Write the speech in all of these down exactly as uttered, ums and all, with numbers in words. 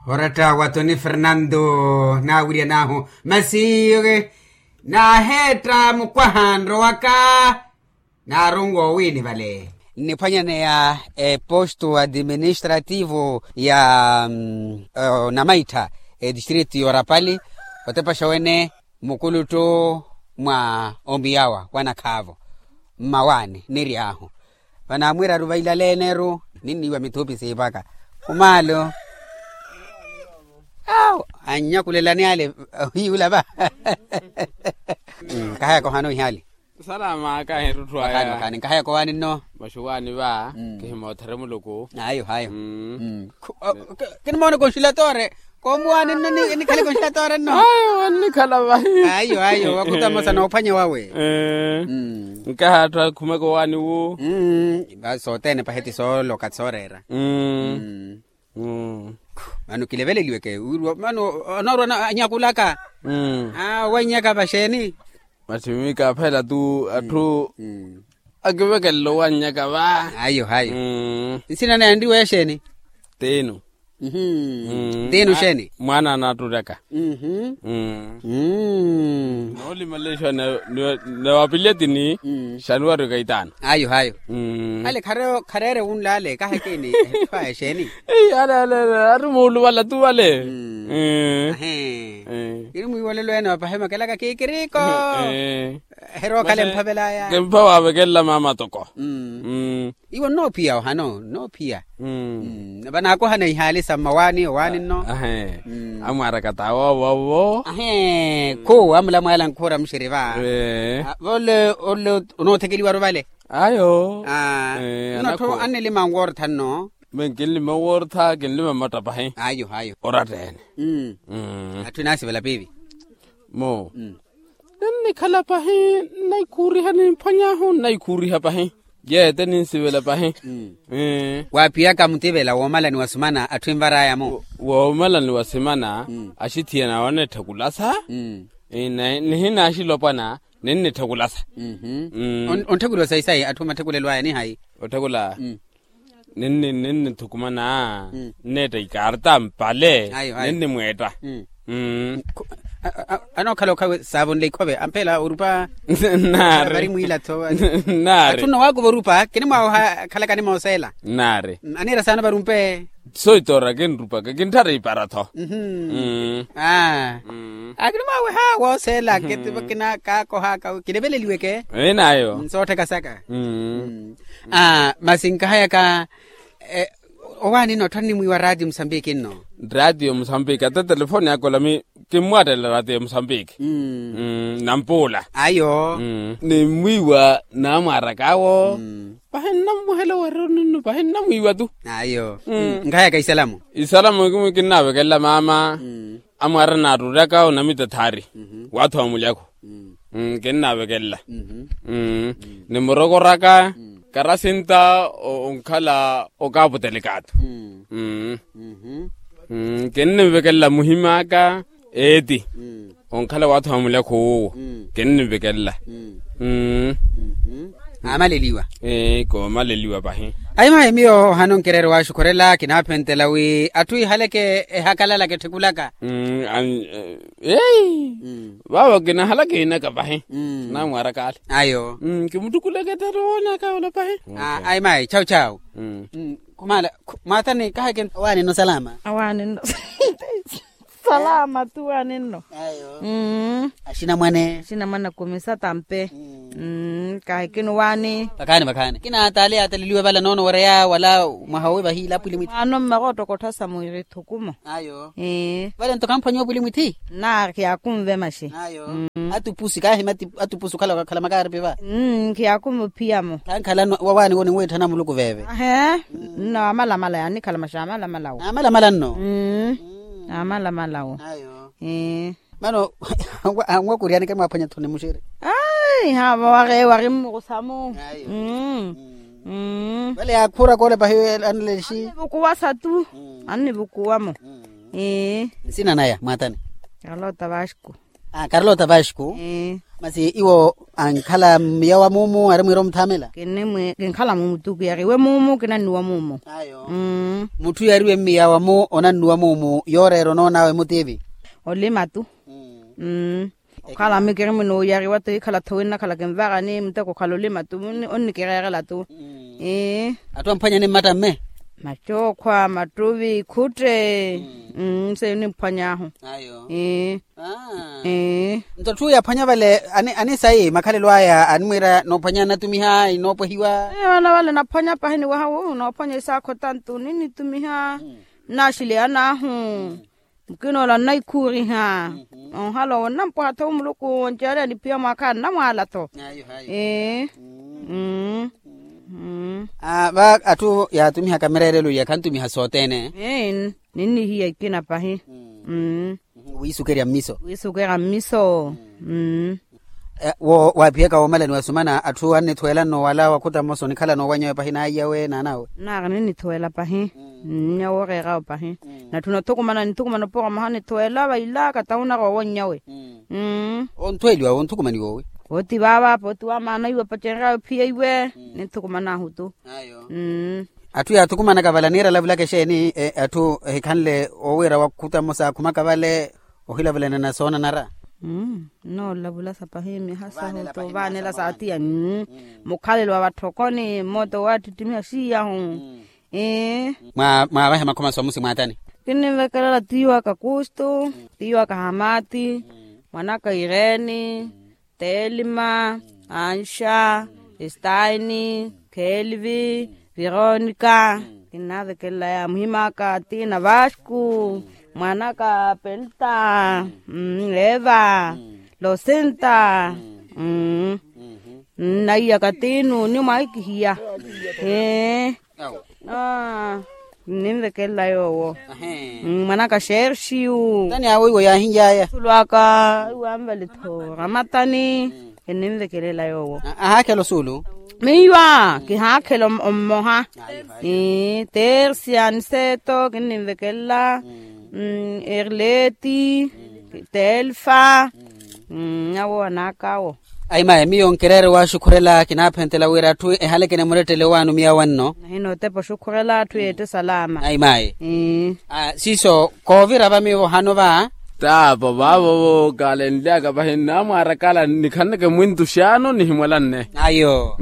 Oratta wa toni fernando naawiryan'ahu masi naaheetta mukwaha nrowaka. Naarunwa owiini vale nniphwanyaneya eposto administrativo ya namaitha, etistrito y'orapali otepaxa wene mukuluttu mwa omiyawa wa nakhaavo mmawaani nniry'ahu. Vanaamwiiraru vailaleene-ru ninniiwa mithupi siipaka. Khumaalo awo annyakulelani ale. Hiyula va. Nkahayaka ohana ohiali. Salama kahi erutthu aya. Nkahayi kowaani nno. Maxuwaani va kihimoothere muluku. Ayo ayo. Kinimoona konxilatoore. Koomuwaani nno nikhale konxilatoore nno. Ayo annikhala vahi. Ayo ayo wakuta mmosa noophwanya wawe. Nkaha atthu akhumeke owaani wu. Sothene paheti sooloka sooreera. Mano kileveleliweke wirwa mano anoorwa anyakulaka. Owannyaka vaxeeni? Masi miika aphela tu atthu akivekelela owannyaka va. Ayo ayo. Nsina naye anriwa exeeni? Tiinu. Tiinu xeeni? Mwaana anatturyaka. Noolimalela exiwa na wapiletini xanuwari okaitaano. Ayo ayo. Ale khareere wunlaale kaha ekeeni. Etthu aya exeeni? Eyi ale ale ale ari muuluvala tu vale. Ahe. Kiri mwiiwolelo ene wa pahi makelaka kiikiriko. Eherookhala emphavelaya. Kempha waavekelela maama toko. Iwo nnoophiya ohano nnoophiya. Vanaakohana ihaali sa mmawaani owaani nno. Ahe. Amwaaraka t'awo awo awo. Ahe. Khu amulamwaala nkhuura muxiri va. Vole ole onoothekeliwaru vale. Ayo. Nnottho annilima nwoortha nno. Meekinlima owoortha kinlima mmatta pahi. Ayo ayo. Oratta-ene. Atthu enaasivela piivi. Mo. Ninnikhala pahi nnaikhuuriha nimphwany'ahu nnaikhuuriha pahi. Yeete ninsivela pahi. Waaphiyaka mutivela woomalani wa sumana atthu envar'aya-mo. Woomalani wa simana axithiyana oneetthekulasa. Nihinaaxilopwana ninnitthekulasa. Ontthekula sayi sayi atthu omatthekulelo aya nihayi? Otthekula. Ninnithukumana nneetta ikaarta mpale. Ninnimweetta. Anookhala okhawe saavonle ikhove ampeela orupa. Vari mwiilatho. Atthu nno waakuva orupa kinimwaawe oha khalaka nimooseela. Aniira saana vari ompe. Soitoora kinrupaka kintthara ipara-tho. Akinimwaawe oha wooseela kinaakaakohaka kileveleliweke. Enaayo. Nsoottheka saka. Masi nkahayaka owaani nno ottho nnimwiiwa raatiyo musambiki nno. Raatiyo musambiki ata telefoni aka olami kimmwattela raatiyo musambiki. Nampuula ayo. Nimmwiiwa naamwaaraka awo. Pahi nnammuhela owereruni nno pahi nnamwiiwa tu. Ayo. Nkahayaka isalamu. Isalamu kinnaavekelela maama. Amwaara naatturyaka onamita thaari waathu wa mulyakhu. Kinnaavekelela. Nimurokoraka karasinta onkhala okaaputelekaatu. Kinnimvekelela muhim'aka eeti onkhala waathu wa mulyakhu wuwo. Kinnimvekelela. Aamaleliwa. Koomaleliwa pahi. Ayi mayi miyo ohano nkireere waaxukhurela kinaaphentela wi atthu ihaleke ehakalalaka etthekulaka. Eyi vaavo kinahalaka enaka pahi. Namwaaraka ale ayo. Kimuttukulaka ettari owoonaka ola pahi. Ayi mayi chawu chawu. Khumaala mwaatani kaheke owaani nno salama. Awaani nno. Salama tu waani nno. Axinamwane axinamwane kumisa tampe. Kahekini waani. Vakhaani vakhaani kina taale yaataleliwe vala noono wereya wala mwaha owi vahiila apwili mwithi. Mwaano mmaka ottokotthasa mwiirithukumo. Ayo. Vale nto kamphwanyiwa apwili mwithi. Nnaari akunve maxi. Ayo. Atupusi kaahimati atupusi okhala okakhela makaaripi va. Nkhiyakumuphiya-mo. Khankhala wawaani wo ninwiitthana muluku veve. Ahe. Nno amalamala yanikhala maxi amalamala wo. Amalamala nno. Amalamala wo. Mano anwakuryaneke mwaaphwanya tthoni muxiri. Ai haava wari wari mmukusamu. Vale yaakhuura koole pahi anlexi. Annivukuwasa tu. Annivukuwa-mo. Nsina naya mwaatani? Karlota vasco. Karlota vasco. Masi iwo ankhala mmiya wa muumu ari mwiira omuthaamela? Kinkhala muumu tu kiyariwe muumu kinannuwa muumu. Mutthu yariwe mmiya wa mu onannuwa muumu yooreera onoon'awe mutiivi? Olima tu. Okhala mikiri mino oyariwa tu hikhala tho winnakhala kinvarani muteko okhala olima tu. Onnikireerela tu. Atthu amphwanyani mmatta mme? Mattookhwa mattuvi ikhutte. Seiyo nimphwany'ahu. Nto atthu yaphwanya vale anisayi makhalelo aya animwiira noophwanya anatumiha inoopwehiwa. Vana vale naphwanya pahi niwaha wu noophwanya isaakho tantu ninnitumiha. Nnaxileyana ahu. Mukina ola nnaikhuuriha. Onhala owo nnampwaha-tho wu muluku onceerya niphiya mwaakha nnamwaala-tho. Va atthu yaatumihaka mireerelo iya khantumiha sothene. Ninnihiya ikina pahi. Wiisukerya mmiso. Wiisukerya mmiso. Wo waaphiyaka woomalani wasumana atthu annithuwela nno wala wakhuta mmosa onikhala noowanyawe pahi naaiyawe naanawe. Nnaari ninnithuwela pahi. Nnya wooreerawe pahi. Natthuna othukumana nithukumana opora mwaha nithuwela vaila katawunara owonnyawe. Onthuweliwa wonthukumaniwa owi? Pooti vaava pooti wamaana iwe pacenryawe phiya iwe. Ninthukuman'ahu tu. Atthu yaathukumanaka vale aniira alavulaka exeeni? Atthu ehikhanle owiira wakhuta mmosa akhumaka vale ohilavulanana soonanara. Nnoolavula sa pahi miha sahu tu vaanela saatiya. Mukhalelo wa vatthokoni mmoota owaattittimiha siiyahu. Mwaavahe makhoma somusi mwaatani? Kinnivekelela tiiwaka kustu, tiiwaka hamati, mwanaka ireni, telima, anxa, estaini, kelvi, vironika. Kinnaavekelela ya muhim'aka tina vasku, mwan'aka pelta, eva, losinta. Nnaiyaka tinu ni mwaikihiya. Ee. Ninvekelela yoowo. Mwanaka xerxiu. Tani awo iwo yaahinly'aya? Sulwaka iwanvale-tho ramatani. Kinninvekelela yoowo. Ahaakhela osuulu? Miyo a kihaakhela ommoha. Tersia niseto kinninvekelela. Erleti, telfa. Awo anaaka awo. Ayi mayi miyo nkireere waaxukhurela kinaaphentela wira atthu ehaleke nimurettele owaano miyawe nno. Nahina otepa oxukhurela atthu yeette salama. Ayi mayi. Siiso koovira va miyo vohano va. Taapo vaavo kalenly'aka vahi nnamwaara kala nikhanleke mwintu xaano nihimwalanne. Ayo.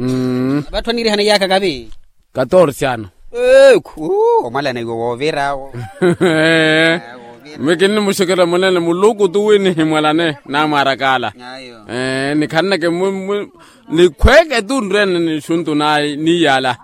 Vatthu aniirihana iyaaka kavi? Katorse ano. Eekhu. Omwalana iwe woovira awo. Mikinnimuxekela mwalana muluku tu wi nihimwalane namwarakala. Nikhanleke nikhweeke tu nrene nixuntu niyala.